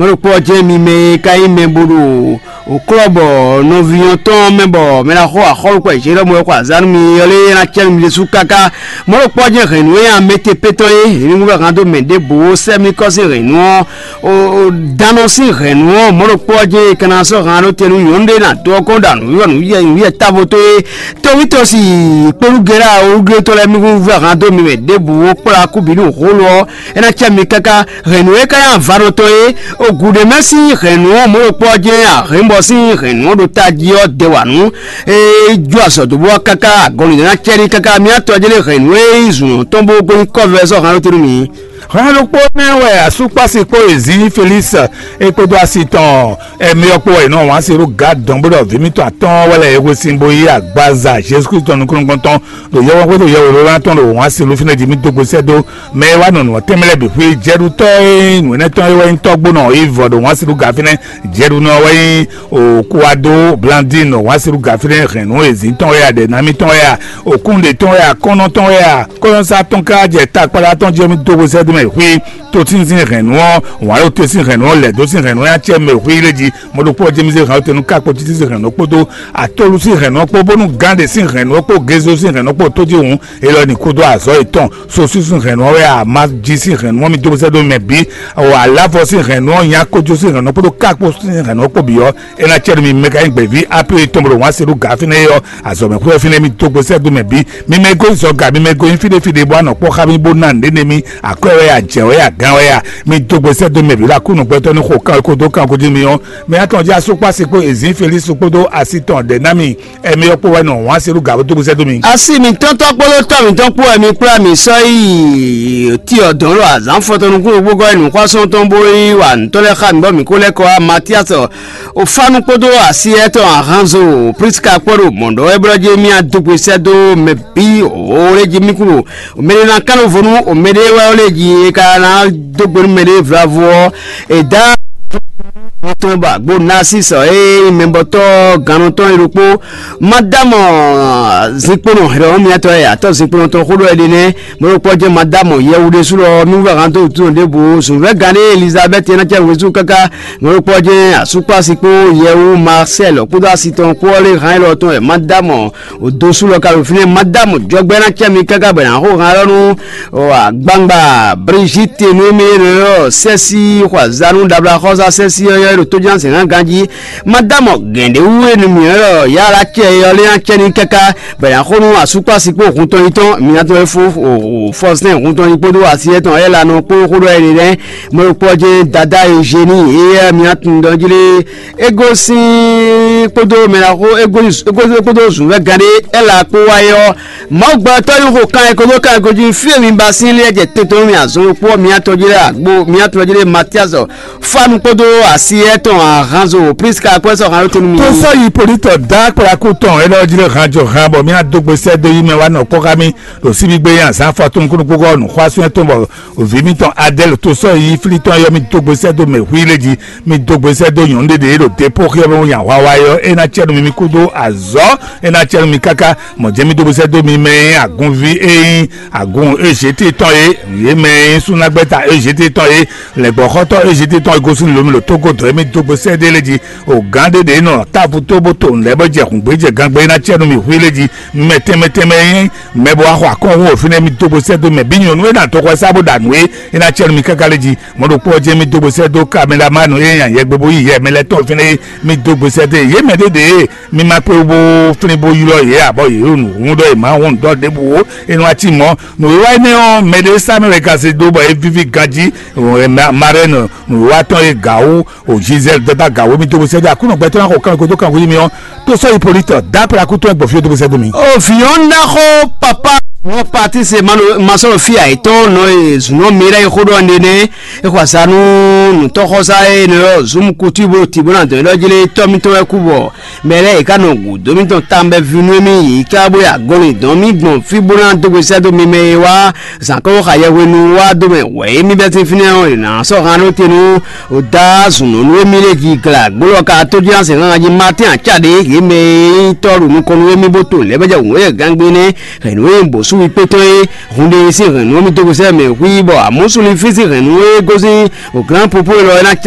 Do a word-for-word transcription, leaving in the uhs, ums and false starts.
Mɔ̌ ɖokpó ɔ́ jɛ́n mi mɛ e ka nyí mɛ bo ɖo klɔ́bɔ nɔví ɔ́ tɔn mɛ bɔ mɛ ná xɔ axɔ́lùkpɛ Jelɔ́mu wɛ xɔ azǎn nú mi ɔ́ lé ná cɛ nú mi ɖésú káká. Mɔ̌ ɖokpó ɔ́ jɛ́n hɛ̌nnu e amɛtepétɔ́ é, mi mú wɛ han dó mɛ ɖěbǔ ó sɛ́ mì kɔ́ sín hɛ̌nnu ɔ́, dannɔ sín hɛ̌nnu ɔ́, mɔ̌ ɖokpó ɔ́ jɛ́n è ka ná sɔ́ han ɖó te nú nyɔ̌nu ɖé ná dó ɔ́ kɔn ɖo nǔwiwa távo tó é. Tɔwítɔ́si kpónúgɛ́lá olúglé tɔn lɛ́ɛ mì kún vɛ́ han dó mi mɛ ɖěbǔ ó kplá kú bǐ ɖo xó lɔ ɔ́, é ná cɛ mi káká. Hɛ̌nnu e ka nyí avanɔ tɔn é, ogu ɖé mɛ sín hɛ̌nnu ɔ́ mɔ̌ ɖokpó ɔ́ jɛ́n ahɛ̌nbɔ sín hɛ̌nnu ɔ́ ɖo tají ɔ́ dɛ wǎ nú é jó azɔ̌ dó bó ɔ́ káká agɔnlin ná cɛ ní káká. Mía tɔjí lé hɛ̌nnu e nyí zǔn tɔn bó gbé nyí kɔ́vɛ sɔ́ han ɖó te nú mi. Hɛn ɖokpó nɛ́ wɛ asúkpási kpó ezǐ Felísi é kpódó asi tɔn ɛmɛ ɔ́ kpó wɛ è nɔ wǎn se ɖó Gad dɔn bó ɖɔ vǐ mitɔn atɔ́ɔ́n wɛ lɛ́ è hwe sin bó yí agbaza Jezu Klísu tɔn nukúnnú tɔn ɖo yɔkpɔ́kpɔ́ ɖo yɛwǒlólá tɔn ɖo wǎn se ɖó fínɛ́ jí mì dó gbe sɛ́ dó mɛ e wá nɔ nǔ ɔ́ tɛnmɛ lɛ́ɛ bǐ xwé jɛɖutɔ́ e nyí nǔ énɛ́ tɔn é wɛ nyí tɔ́gbónɔ Ivɔ ɖo wǎn se ɖó ga fínɛ́. Jɛɖunɔ wɛ nyí Okuwado Blandin ɖo wǎn se ɖó ga fínɛ́ hɛn nǔ ezǐ tɔn wɛ a ɖɛ nami tɔn wɛ a òkúnɖe tɔn wɛ a kɔ́nɔ tɔn wɛ a kɔ́nyɔ́sá tɔn ká jɛ takpáɖá tɔn jí ɔ́ mì dó gbe sɛ́ dó mɛ xwé. Tó tínzín hɛ̌nnu ɔ́, wǎn ɖo te sín hɛ̌nnu ɔ́, lɛ̌ dó sín hɛ̌nnu ɔ́, nyá cɛ mɛ xwé lé jí. Mɔ̌ ɖokpó ɔ́ jɛ́mísí hɛ̌nnu tɛnu ká kpo títí sín hɛ̌nnu ɔ́ kpódó atolu sín hɛ̌nnu ɔ́ kpó, bónú gán ɖé sín hɛ̌nnu ɔ́ kpó gézo sín hɛ̌nnu ɔ́ kpó tó jí hǔn, é lɔ ní kúdó azɔ̌ yětɔn. Sosú sín hɛ̌nnu ɔ́ wɛ a ma jí sín hɛ̌nnu ɔ́, mi dó sɛ́ dó mɛ bǐ. Alavɔ sín hɛ̌nnu ɔ́, nyá kójó sín hɛ̌nnu ɔ́ kpódó ká kpo sín hɛ̌nnu ɔ́ kpó bǐ ɔ́, é ná cɛ nú mi mɛ ka nyí gbɛ̌ví Apilée tɔn bó ɖo wǎn se ɖó gǎ fínɛ́ é ɔ́, azɔ̌ mɛ xwé ɔ́ fínɛ́ mi dó gbe sɛ́ dó mɛ bǐ. Mi mɛ e gosín zɔ ga, mi mɛ e gosín fí ɖé fí ɖé bó wá nɔ kpɔ́ xá mì bó ná nǔɖé n'i mì, akwɛ́ wɛ a, jɛ̌ wɛ a, gǎn wɛ a, mi dó gbe sɛ́ dó mɛ bǐ ɖo Aklúnɔ gbɛtɔ́ ní xo kan ko dó kan ko jí mi ɔ́, mɛ atɔn jí asúkpási kpó ezǐn Felísu kpódó asi tɔn ɖɛ̌ ná mi, ɛmɛ ɔ́ kpó wɛ nɔ wǎn se ɖó gǎ bó dó gbe sɛ́ dó mi. Asi mǐtɔn tɔn kpódó tɔ́ mǐtɔn kpó wɛ mi kplá mǐ sɔ́ yi Tiɔdɔn ɖo azǎn fɔtɔn nukúnnú gbogbo wɛ nǔxwásɔ́ntɔn bó yi wa nǔtɔ́ lɛ́ɛ xá mǐ bɔ mǐ kó lɛ́ kɔ wá Matiasɔ Ofanu kpódó asi étɔn Ahanzo Priska kpó ɖo mɔ̌ ɖɔ wɛ blɔ́ jí mì adógbe sɛ́ dó mɛ bǐ wǒ lé jí mì kú ɖo mɛ ɖé ná kán nɔ vo nú mɛ ɖé wɛ lé jí é ka ná dó gbe nú mɛ ɖé vlavo ɔ́. È dá tɔn bɔ agbo Nasisɔ e nyí mɛbɔtɔ́ gannɔtɔ́ é ɖokpó Madamɔ zinkponɔ hɛlɛwɔ́ miatɔ́ e atɔ́ zinkponɔ tɔn xó ɖɔ é ɖe nɛ́. Mɔ̌ ɖokpó ɔ́ jɛ́n Madamɔ yɛwu ɖésú lɔ nú vɛ́ han dó wǔtú ɖěbǔ zǔnvɛ́ gán ɖé Elizabɛ́ti e ná cɛ wezú káká. Mɔ̌ ɖokpó ɔ́ jɛ́n asúkpási kpó yɛwu Masɛ́l kpódó asi tɔn kpó ɔ́ lé han élɔ́ tɔn wɛ Madamɔ dosú lɔ ka ɖo fínɛ́. Madamɔ jɔgbɛ́ ná cɛ mi káká bɔ è nǎ xo han élɔ́ nú agbangba Brigitte nú émí e nɔ ylɔ́ sɛ́sí xɔ azǎn nú ɖabla xɔ́sá sɛ́sí ɔ́ ylɔ́ é ɖo tójúnásɛngán ganjí. Madamɔ gɛ̌n ɖé wú e nú mǐ ylɔ́ yára cɛ é ɔ́ lé ná cɛ ní káká bɔ è nǎ xo nú asúkpási kpó hun tɔn yi tɔn mǐ ná tɔn e fó Fɔsɛ́n hun tɔn yi kpódó asi étɔn Ɛlanɔ kpó xó ɖɔ é ɖe lɛ́ɛ. Mɔ̌ ɖokpó ɔ́ jɛ́n dadá Eugénie éyɛ́ mǐ ná tunwun ɖɔ jí lé é gosín kpódó mɛ ná xó é gosín kpódó zǔnvɛ́ gán ɖé Ɛla kpó wá é ɔ́, Mawu gbɛtɔ́ yi xo kan e kódó kan e gojì fí e mi ba sín lé jɛ tɛntɔn mì azɔn ɖokpó ɔ́ mǐ atɔn jí lé agbo mǐ atɔn jí lé Matiasɔ Fanu kpódó asi étɔn Ahanzo Priska kpó sɔ han ɖó te nú mi. Tó sɔ́ yi polítɔ dá kplakú tɔn é ɖɔ jí lé han jɔ han bɔ mǐ adó gbe sɛ́ dó yi mɛ wá nɔ kpɔ́ xá mì ɖo síbígbé nyi azǎn afɔtɔn kúnukúnukú ɔ́ nǔxwásún tɔn bɔ vǐ mitɔn Adɛ́l tó sɔ́ yi flí tɔn yɔ mì dó gbe sɛ́ dó mɛ hwí lé jí. Mi dó gbe sɛ́ dó nyɔ̌nu ɖé ɖě ɖo depóxyɔ́ mɛ nya hwawa é ɔ́, é ná cɛ nú mi, mi kúdó azɔ̌, é ná cɛ nú mi káká. Mɔ̌ jɛ́n mi dó gbe sɛ́ dó mi mɛ e nyí agunví e nyí agun Ezyéti tɔn é, yě mɛ e nyí súnnágbɛ́ta Ezyéti tɔn é, lɛ̌ngbɔ́xɔ́tɔ́ Ezyéti tɔn e gosín lǒ mi ɖo tógó dɔ̌ é mi dó gbe sɛ́ ɖé lé jí. O gǎn ɖé ɖě nɔ távo tó bó to nǔ lɛ́ɛ bɔ jɛ hǔngbéjɛ gangbe é ná cɛ nú mi hwí lé jí. Mɛ tɛnmɛ tɛnmɛ e nyí mɛ bó wá xɔ akɔ́nhún o fínɛ́ mi dó gbe sɛ́ dó mɛ bǐ nyɔ̌nu e ná dó xɔ sá bó ɖa nǔ é, é ná cɛ nú mi káká lé jí. Mɔ̌ ɖokpó ɔ́ jɛ́n mì dó gbe sɛ́ dó Kamelamanu e nya yɛgbe bó yí yɛ mɛ lɛ́ɛ tɔn fínɛ́ é, mì dó gbe sɛ́ dó yě mɛ ɖěɖě e mi ma kpé bó flín bó ylɔ́ yě ǎ, bɔ yě ɖo nǔ hún ɖɔ yě má hún nǔ ɖɔ ɖěbǔ ó. É nɔ wá cí mɔ̌, nǔwiwa énɛ́ ɔ́, mɛɖé sá mɛ wɛ ka se dó bɔ é víví ganjí. Marɛ́nu nǔwiwa tɔn e gǎ wú o Gisèle dɔ́ dó aga wǒ mì dó gbe sɛ́ dó Aklúnɔ gbɛtɔ́ ná xɔ kanwekwe dó kanwekwe yí mì ɔ́, tó sɔ́ yi Polítɔ dá kplakú tɔn e gbɔ fí ó dó gbe sɛ́ dó mi. O vǐ ɔ́ ná xó papa ɔ́ Patise masɔ́lɔfíà yětɔn nɔ e zǔnɔ Miláyi xó ɖɔ ne nɛ́. É xɔ azǎn nú nǔtɔ́xɔ́sá e nɔ ylɔ́ Zumukutu bó ti bó ná dɔn ylɔ́ jlé tɔ́ mítɔn wɛ kú bɔ mɛ lɛ́ɛ yě ká nɔ gǔdo mítɔn tawun bɛ́ vínú émí yě ká bó yi agɔnlin dɔn mí gbɔn fí bó ná dó gbe sɛ́ dó mi mɛ e wá zǎn kɔ́ bó xa yɛhwenu wá dó mɛ wɛ émí bɛ́ sín fínɛ́ ɔ́, è nǎ sɔ́ han ɖó te nú Oda zun nɔ nú émí lé jí glǎ gbólɔ ka tójínásɛn jí Matín acá ɖě yě mɛ e nyí tɔ́ ɖo nukɔn nú émí bó to lɛ̌ bó jɛ wǔnwé gangbé nɛ́ hɛ̌nnu e nyí bǒsúwi kpé tɔn é. Hun ɖé sín hɛ̌nnu ɔ́ mì dó gosɛ́ mɛ xwí bɔ amɔ̌súlifí sín hɛ̌nnu e gosín glǎnpopó élɔ́ é ná cá